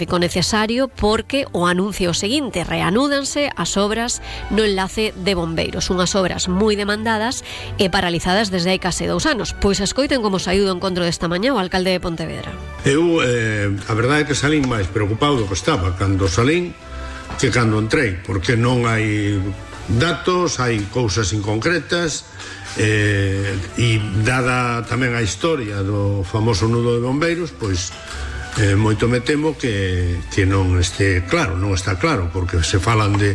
necesario porque o anuncio seguinte: reanúdanse as obras no enlace de bombeiros, unhas obras moi demandadas e paralizadas desde hai case 2 anos. Pois escoiten como saiu do encontro desta mañá o alcalde de Pontevedra. Eu, a verdade é que salín máis preocupado do que estaba cando salín que cando entrei, porque non hai datos, hai cousas inconcretas, e dada tamén a historia do famoso nudo de bombeiros, pois moito me temo que non este claro, non está claro, porque se falan de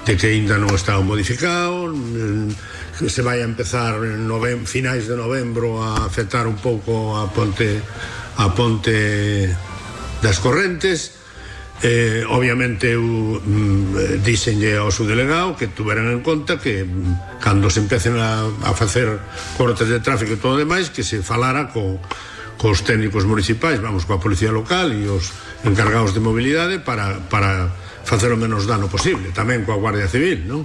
que ainda non está modificado, que se vai a empezar en finais de novembro a afectar un pouco a ponte das Correntes. Obviamente eu díxenlle ao subdelegado que tuveran en conta que cando se empecen a facer cortes de tráfico e todo demais, que se falara cos técnicos municipais, vamos, coa policía local e os encargados de mobilidade para facer o menos dano posible, tamén coa Guardia Civil, non?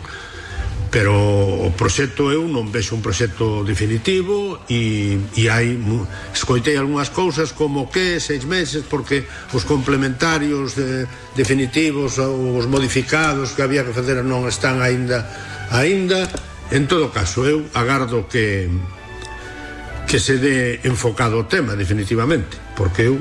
Pero o proxecto eu non vexo un proxecto definitivo e escoitei algunhas cousas como que 6 meses porque os complementarios definitivos ou os modificados que había que facer non están aínda. En todo caso, eu agardo que se dé enfocado o tema definitivamente, porque eu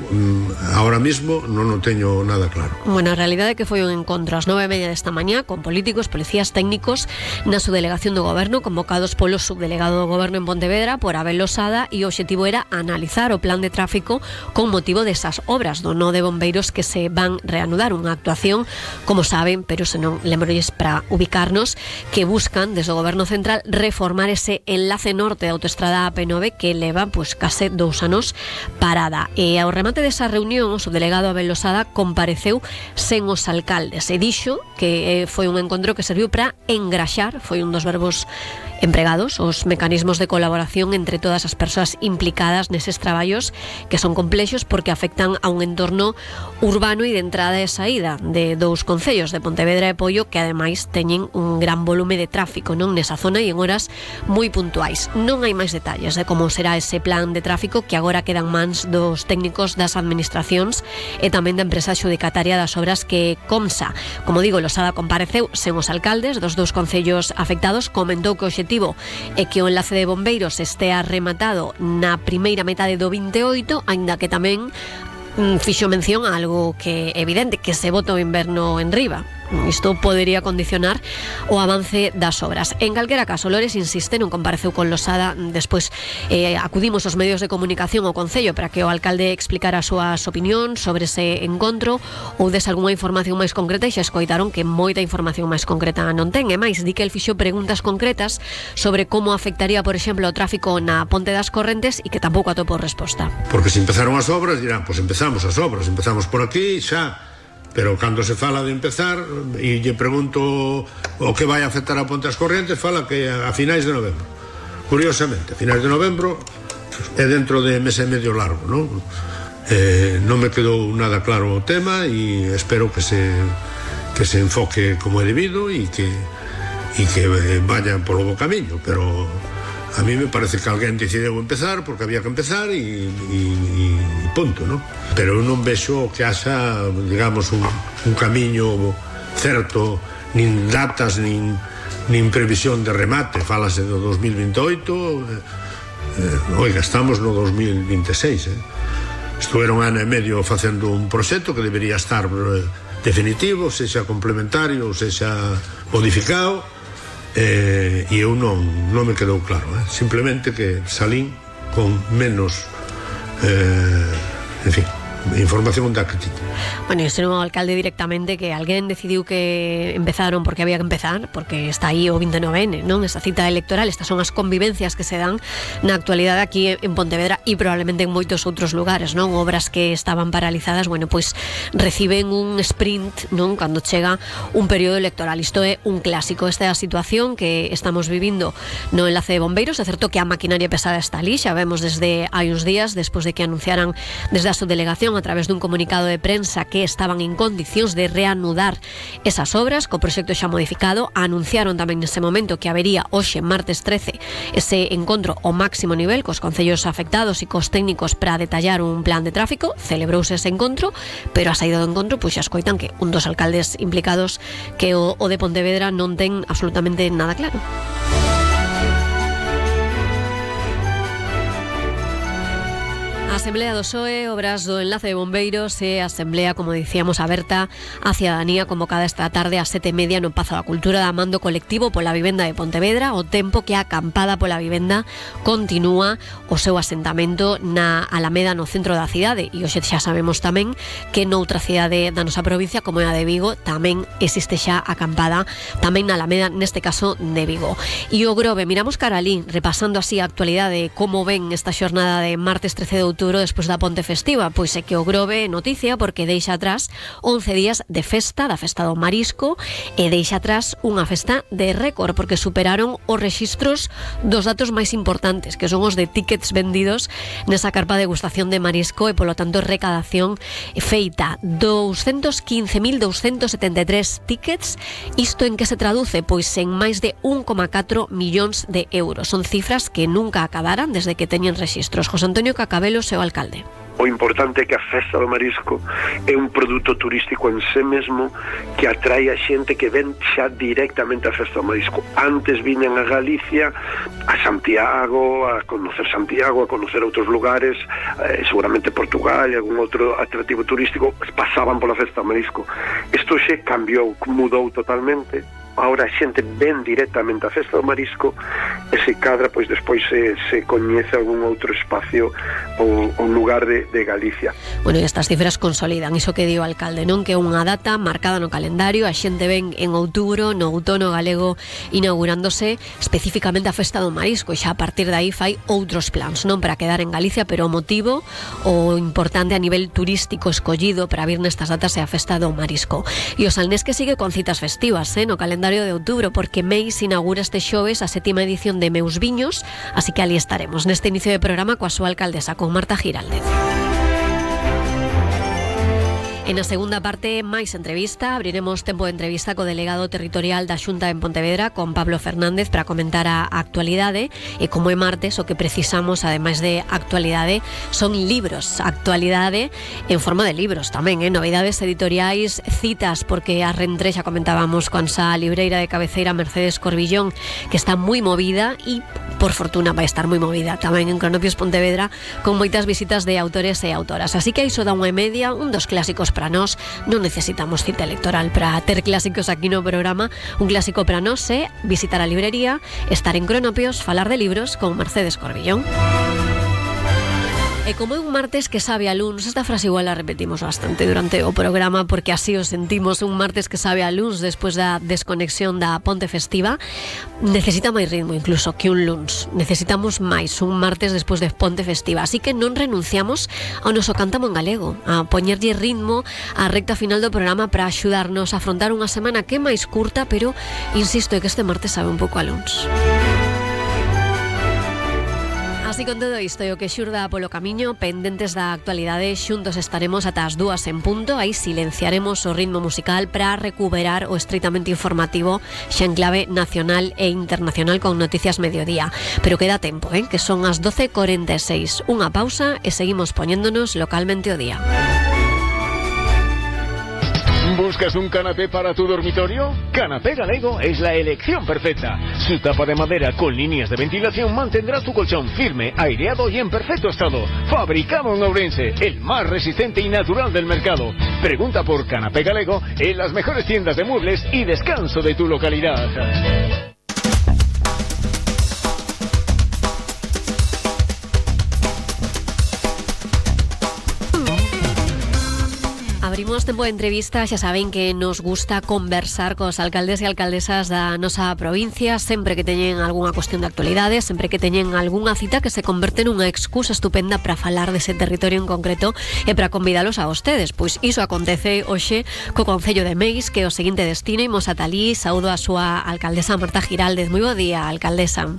ahora mismo non o teño nada claro. Bueno, a realidade é que foi un encontro ás 9:30 desta mañá con políticos, policías técnicos na subdelegación do goberno, convocados polo subdelegado do goberno en Pontevedra, por Abel Losada, e o obxectivo era analizar o plan de tráfico con motivo desas obras do nó de bombeiros que se van reanudar, unha actuación, como saben, pero se non lembrolles para ubicarnos, que buscan desde o goberno central reformar ese enlace norte da autoestrada AP9 que leva case 2 anos parada. E ao remate desa reunión, o subdelegado Abel Losada compareceu sen os alcaldes e dixo que foi un encontro que serviu para engraxar, foi un dos verbos empregados, os mecanismos de colaboración entre todas as persoas implicadas neses traballos que son complexos porque afectan a un entorno urbano e de entrada e saída de 2 concellos, de Pontevedra e Poio, que ademais teñen un gran volume de tráfico non nesa zona e en horas moi puntuais. Non hai máis detalles de como será ese plan de tráfico que agora quedan mans dos técnicos das administracións e tamén da empresa adxudicataria das obras que Comsa. Como digo, Losada compareceu sen os alcaldes dos 2 concellos afectados, comentou que o obxectivo é que o enlace de bombeiros estea rematado na primeira metade do 28, aínda que tamén fixo mención a algo que é evidente, que se bota o inverno en riba. Isto podería condicionar o avance das obras. En calquera caso, Lores insiste, non compareceu con Losada. Despois acudimos aos medios de comunicación ao Concello para que o alcalde explicara as súas opinións sobre ese encontro ou des algunha información máis concreta, e xa escoitaron que moita información máis concreta non ten. E máis, di que el fixo preguntas concretas sobre como afectaría, por exemplo, o tráfico na Ponte das Correntes e que tampouco atopou resposta. Porque se empezaron as obras, dirán, pois empezamos as obras, empezamos por aquí, xa. Pero cando se fala de empezar e lle pregunto o que vai afectar a Ponte das Correntes, fala que a finais de novembro. Curiosamente, a finais de novembro é dentro de mes e medio largo, non? Non me quedou nada claro o tema e espero que se enfoque como é debido e que vaya polo bo camiño, pero a mí me parece que alguén decidiu empezar porque había que empezar e punto, non? Pero eu non vexo que haxa, digamos, un camiño certo, nin datas, nin previsión de remate. Fálase do 2028, oiga, estamos no 2026, Estuveron ano e medio facendo un proxecto que debería estar definitivo, sexa complementario, sexa modificado, e eu non me quedou claro, simplemente que salín con menos en fin, información da que tiña. Bueno, ese non o alcalde directamente que alguén decidiu que empezaron porque había que empezar, porque está aí o 29N, non? Esa cita electoral, estas son as convivencias que se dan na actualidade aquí en Pontevedra e probablemente en moitos outros lugares, non? Obras que estaban paralizadas, bueno, pois reciben un sprint, non? Cando chega un período electoral. Isto é un clásico, esta é a situación que estamos vivindo no enlace de bombeiros. É certo que a maquinaria pesada está ali, xa vemos desde hai uns días, despois de que anunciaran desde a subdelegación Administración a través dun comunicado de prensa que estaban en condicións de reanudar esas obras, co proxecto xa modificado. Anunciaron tamén nese momento que habería hoxe, martes 13, ese encontro ao máximo nivel cos concellos afectados e cos técnicos para detallar un plan de tráfico. Celebrouse ese encontro, pero a saída do encontro pois xa escoitan que un dos alcaldes implicados, que o de Pontevedra, non ten absolutamente nada claro. A Asamblea do PSOE, obras do enlace de bombeiros e asamblea, como dicíamos, aberta á cidadanía, convocada esta tarde ás 7:30 no Pazo da Cultura da Mando Colectivo pola Vivenda de Pontevedra, o tempo que a acampada pola vivenda continúa o seu asentamento na Alameda, no centro da cidade. E hoxe xa sabemos tamén que noutra cidade da nosa provincia, como é a de Vigo, tamén existe xa acampada, tamén na Alameda, neste caso de Vigo. E o Grove, miramos cara alí, repasando así a actualidade, como ven esta xornada de martes 13 de outubro despois da ponte festiva. Pois é que o Grove noticia porque deixa atrás 11 días de festa, da festa do marisco, e deixa atrás unha festa de récord porque superaron os rexistros dos datos máis importantes, que son os de tickets vendidos nesa carpa de degustación de marisco, e polo tanto recadación feita 215.273 tickets. Isto en que se traduce? Pois en máis de 1,4 millóns de euros. Son cifras que nunca acabaran desde que teñen rexistros. José Antonio Cacabelos, seu alcalde. O importante é que a festa do marisco é un produto turístico en sí mesmo que atrae a xente que ven xa directamente a festa do marisco. Antes viñan a Galicia, a Santiago, a conocer outros lugares, seguramente Portugal e algún outro atractivo turístico, pasaban pola festa do marisco. Isto xa cambiou, mudou totalmente. Ahora a xente ven directamente a festa do marisco e se cadra, pois despois se coñece algún outro espacio ou un lugar de Galicia. Bueno, e estas cifras consolidan iso que di o alcalde, non? Que é unha data marcada no calendario, a xente ven en outubro, no outono galego, inaugurándose especificamente a festa do marisco, e xa a partir de aí fai outros plans, non para quedar en Galicia, pero o motivo, o importante a nivel turístico escollido para vir nestas datas é a festa do marisco. E o Salnés que sigue con citas festivas, no calendario de outubro, porque Meis inaugura este xoves a 7ª edición de Meus Viños, así que ali estaremos neste inicio de programa coa súa alcaldesa, con Marta Giraldez. En a segunda parte, máis entrevista. Abriremos tempo de entrevista co delegado territorial da Xunta en Pontevedra, con Pablo Fernández, para comentar a actualidade. E como é martes, o que precisamos, ademais de actualidade, son libros. Actualidade en forma de libros tamén, novidades editoriais, citas, porque a Rentrexa comentábamos con a libreira de cabeceira Mercedes Corbillón, que está moi movida, e por fortuna vai estar moi movida tamén en Cronopios Pontevedra, con moitas visitas de autores e autoras. Así que iso da 1:30, un dos clásicos para nós. Non necesitamos cita electoral para ter clásicos aquí no programa. Un clásico para nós é visitar a librería, estar en Cronopios, falar de libros con Mercedes Corbillón. E como é un martes que sabe a luns, esta frase igual la repetimos bastante durante o programa, porque así o sentimos, un martes que sabe a luns despois da desconexión da ponte festiva. Necesita máis ritmo incluso que un luns. Necesitamos máis un martes despois de ponte festiva, así que non renunciamos ao noso cántamo en galego, a poñerlle ritmo á recta final do programa para axudarnos a afrontar unha semana que é máis curta, pero insisto, é que este martes sabe un pouco a luns. Así con todo isto e o que xurda polo camiño, pendentes da actualidade, xuntos estaremos ata as 2 en punto. Aí silenciaremos o ritmo musical para recuperar o estritamente informativo xa en clave nacional e internacional con Noticias Mediodía. Pero queda tempo, que son as 12:46. Unha pausa e seguimos poñéndonos localmente o día. ¿Buscas un canapé para tu dormitorio? Canapé Galego es la elección perfecta. Su tapa de madera con líneas de ventilación mantendrá tu colchón firme, aireado y en perfecto estado. Fabricado en Ourense, el más resistente y natural del mercado. Pregunta por Canapé Galego en las mejores tiendas de muebles y descanso de tu localidad. Abrimos tempo de entrevista, xa saben que nos gusta conversar cos alcaldes e alcaldesas da nosa provincia, sempre que teñen algunha cuestión de actualidade, sempre que teñen algunha cita que se converte nunha excusa estupenda para falar dese territorio en concreto e para convidalos a vostedes. Pois iso acontece hoxe co Concello de Meis, que é o seguinte destino. Imos ata alí, saúdo a súa alcaldesa Marta Giraldez. Moi bo día, alcaldesa.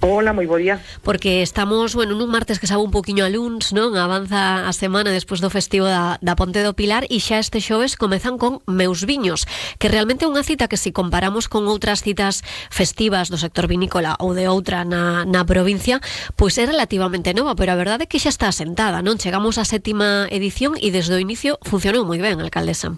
Hola, moi bo día. Porque estamos, nun martes que sabe un poquinho a luns, non? Avanza a semana despois do festivo da Ponte do Pilar e xa este xoves comezan con Meus Viños, que realmente é unha cita que se comparamos con outras citas festivas do sector vinícola ou de outra na provincia, pois é relativamente nova, pero a verdade é que xa está asentada, non? Chegamos á 7ª edición e desde o inicio funcionou moi ben, alcaldesa.